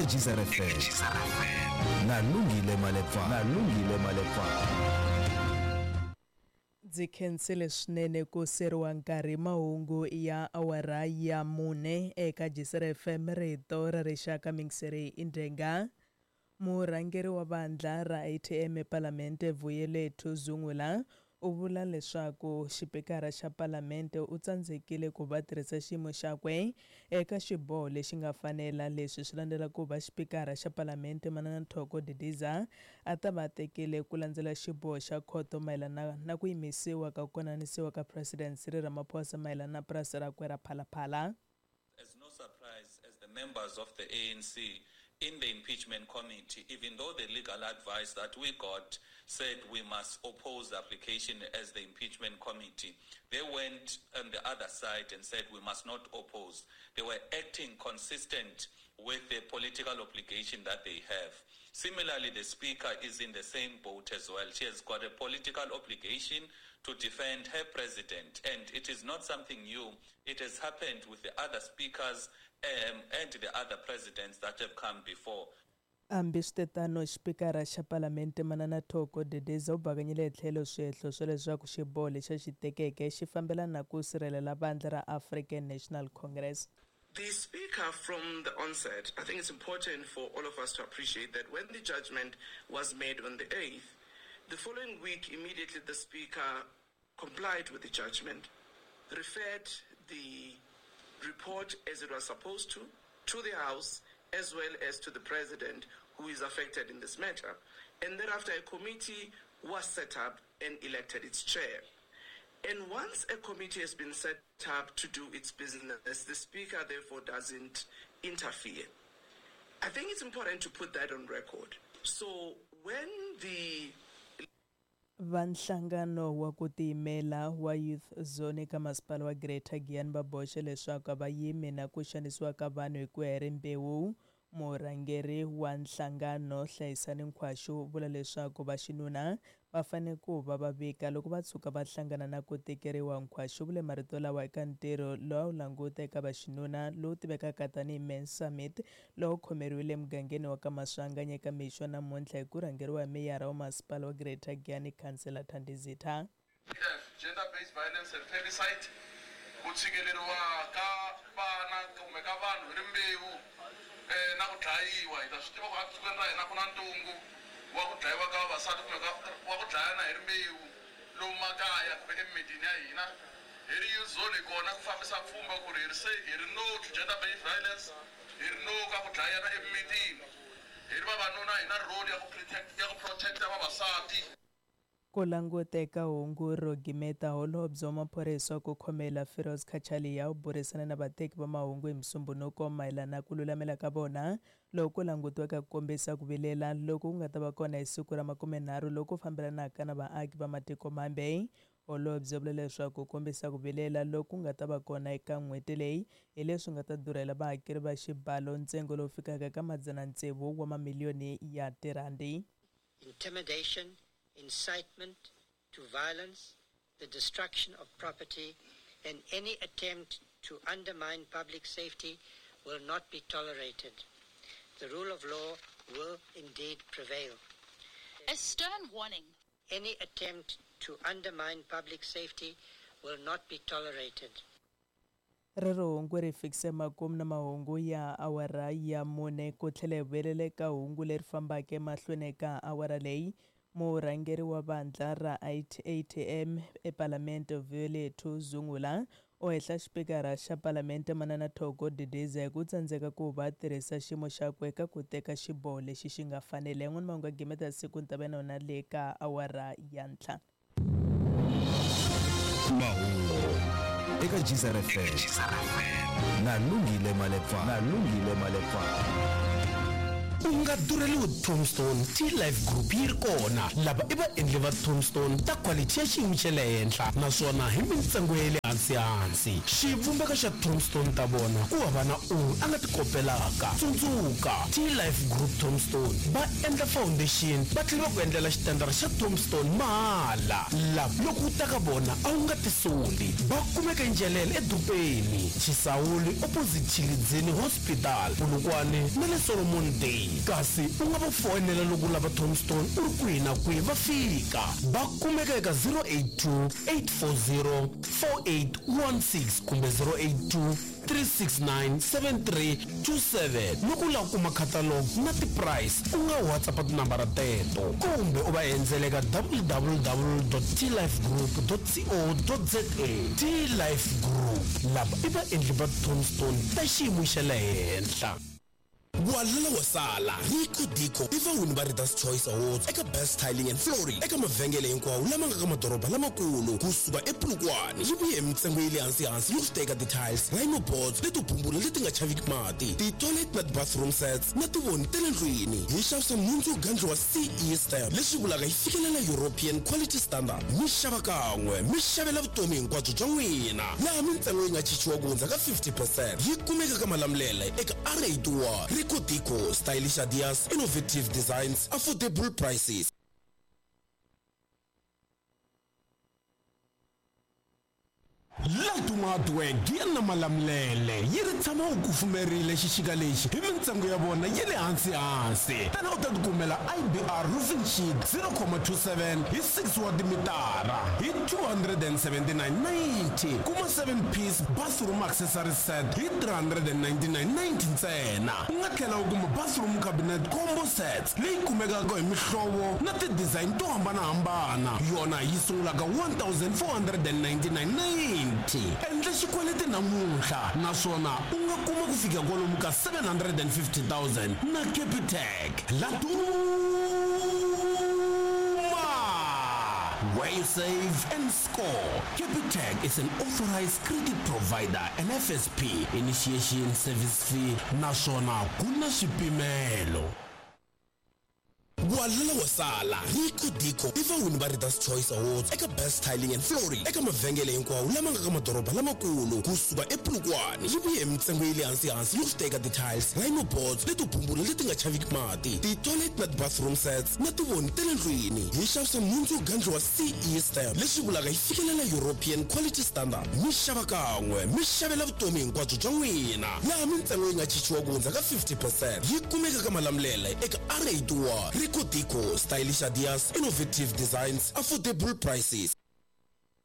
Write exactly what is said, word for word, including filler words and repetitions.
eka Geyser F M na Lungile Malepa na Lungile Malepa. Ndzi khensile swinene ku seriwa nkarhi mahungu ya awara ya mune eka Geyser F M rito ra rixaka mingiseri Indrenga. Murhangeri wa vandla ra A T M ePalamente Vuyelethu Zungula u vula leswaku xipikara xa Palamente u tsandzekile ku va tirhisa xiyimo xakwe eka xiboho lexi nga fanela. Leswi swi landzela ku va xipikara xa Palamente Manana Thoko Didiza a ta va tekile ku landzela xiboho xa khoto mayelana na ku yimisiwa ka ku konanisiwa ka President Cyril Ramaphosa mayelana na purasi rakwe ra Phalaphala. It's no surprise as the members of the A N C in the impeachment committee, even though the legal advice that we got said we must oppose the application as the impeachment committee, they went on the other side and said we must not oppose. They were acting consistent with the political obligation that they have. Similarly, the speaker is in the same boat as well. She has got a political obligation to defend her president, and it is not something new. It has happened with the other speakers um, and the other presidents that have come before. Hambiswiritano, xipikara xa Palamente Manana Thoko Didiza u bakanyile tlhelo swihehlo swa leswaku xiboho lexi a xi tekeke xi fambelana na ku sirhelela vandla ra African National Congress. The speaker from the onset, I think it's important for all of us to appreciate that when the judgment was made on the eighth, the following week, immediately the speaker complied with the judgment, referred the report as it was supposed to, to the House, as well as to the president who is affected in this matter. And thereafter, a committee was set up and elected its chair. And once a committee has been set up to do its business, the speaker therefore doesn't interfere. I think it's important to put that on record. So when the Vanhlangano wa ku tiyimela wa Youth Zone eka masipala wa Greater Giyani va boxe leswaku va yimi na ku xanisiwa ka vanhu hi ku ya hi rimbewu. Murhangeri wa nhlangano Hlayisani Nkhwashu u vula leswaku vaxinuna va fanele ku va va vika loko va tshuka va hlangana na ku tekeriwa. Nkhwashu vule marito lawa eka ntirho lowu a wu languta eka vaxinuna lowu tivekaka tanihi Men's Summit lowu khomeriwile emugangeni wa ka Maswanganyi eka mixo namuntlha hi ku rhangeriwa hi meyara wa masipala wa Greater Giyani Councillor Thandi Zitha. Gender-based violence and femicide, ku tshikeleriwa ka vana kumbe ka vanhu hi rimbewu na ku dlayiwa. Hi ta swi tiva ku etikweni ra hina ku na ntungu wa ku dlayiwa ka vavasati kumbe wa ku dlayana hi rimbewu lomu makaya kumbe emimitini ya hina. Hi ri Youth Zone hi kona ku fambisa pfhumba ku ri hi ri se hi ri no to gender-based violence, hi ri no ka ku dlayana emimitini. Hi ri vavanuna hi na role ya ku protect ya ku protect-a vavasati. Ku languteka hungu ro gimeta holobye wa maphorisa ku khomela Firoz Cachalia u burisana na vateki va mahungu hi Musumbhunuko mayelana na ku lulamela ka vona loko ku langutiweke ku kombisa ku vilela loku ku nga ta va kona hi siku ra makumenharhu loku fambelanaka na vaaki va matiko mambe. Holobye u vule leswaku ku kombisa ku vilela loku nga ta va kona eka n'hweti leyi hi leswi nga ta durhela vahakeri va xibalo ntsengo lowu fikaka ka madzana tsevu wa mamiliyoni ya tirhandi. Intimidation, incitement to violence, the destruction of property, and any attempt to undermine public safety will not be tolerated. The rule of law will indeed prevail. A stern warning. Any attempt to undermine public safety will not be tolerated. Rero hungu ri fikise makumu na mahungu ya awara ya mune ku tlhela hi vuyelela eka hungu leri fambaka emahlweni eka awara leyi. Murhangeri wa vandla ra A T M ePalamente Vuyelethu Zungula u hehla xipikara xa Palamente Manana Thoko Didiza hi ku tsandzeka ku va tirhisa xiyimo xakwe eka ku teka xiboho lexi xi nga fanela. Yan'wana mahungu ya gimeta siku ni ta va na wona le ka awara ya ntlhanu. Mahungu eka Geyser F M na Lungile Malepa na Lungile Malepa. U nga durheliwi tombstone, T-Life Group yi ri kona. Lava i vaendli va tombstone ta quality ya xiyimo xa le henhla naswona hi mintsengo ya le hansi-hansi. Xivumbeko xa tombstone ta vona ku hava na un'we a nga ti kopelaka. Tsundzuka, T-Life Group tombstone va endla foundation va tlhela va ku endlela xitandara xa tombstone mahala. Lava loko u ta ka vona a wu nga tisoli. Va kumeka Ndzhelele edorobeni, Chisawuli opposite Tshilidzini Hospital, Polokwane na le Solomon Day. Kasi u nga va foyinela loko u lava tombstone u ri kwihi na kwihi va fika. Va kumeka eka zero eight two, eight four zero, four eight one six kumbe zero eight two, three six nine, seven three two seven. Loko u lava ku kuma catalog na ti-price u nga WhatsApp tinambara teto kumbe u va endzela eka w w w dot t life group dot co dot z a. T-Life Group, lava i vaendli va tombstone ta xiyimo xa le henhla. Walala wa sala, Rico Dico i vawini va Readers Choice Awards eka Best Tiling and Flooring eka mavhengele hinkwawo lama nga ka madoroba lamakulu kusuka ePolokwane. Yi vuye hi mintsengo ya le hansi-hansi yo swi teka ti-tiles, rhino boards leto bumbula leti nga chaviki mati, ti-toilet na ti-bathroom sets na tivoni ta le ndlwini. Hi xavisa nhundzu yo gandliwa C E stamp leswi vulaka yi fikelela European Quality Standard. Mi xava kan'we, mi xavela vutomi hinkwabyo bya n'wina, laha mintsengo yi nga chichiwa ku hundza ka fifty percent. Yi kumeka ka Malamulele eka R eighty-one. Rico Dico, stylish ideas, innovative designs, affordable prices. Laduma Hardware ya na Malamulele yi ri tshama u kufumerile xixika lexi hi mintsengo ya vona ya le hansi-hansi. Tana u ta tikumela I B R roofing sheet zero comma two seven hi six wa timitara hi two hundred and seventy-nine ninety. Kuma seven piece bathroom accessory set hi three hundred and ninety-nine ninety ntsena. U nga tlhela u kuma bathroom cabinet combo sets leyi kumekaka hi mihlovo na ti-design to hambanahambana. Yona yi sungulaka one thousand four hundred and ninety-nine ninety. Endla xikweleti namuntlha naswona u nga kuma ku fika kwalomu ka seven hundred and fifty thousand na Capitec. Laduma, where you save and score. Capitec is an authorized credit provider and F S P initiation service fee naswona ku na swipimelo. Walala wa sala, Rico Dico i vawini va Readers Choice Awards eka Best Tiling and Flooring eka mavhengele hinkwawo lama nga ka madoroba lamakulu kusuka ePolokwane. Yi vuye hi mintsengo ya le hansi-hansi yo swi teka ti-tiles, rhino boards leto bumbula leti nga chaviki mati, ti-toilet na ti-bathroom sets na tivoni ta le ndlwini. Hi xavisa nhundzu yo gandliwa C E stamp leswi vulaka yi fikelela European Quality Standard. Mi xava kan'we, mi xavela vutomi hinkwabyo bya n'wina, laha mintsengo yi nga chichiwa ku hundza ka fifty percent. Yi kumeka ka Malamulele eka R eighty-one. Rico Dico, stylish ideas, innovative designs, affordable prices.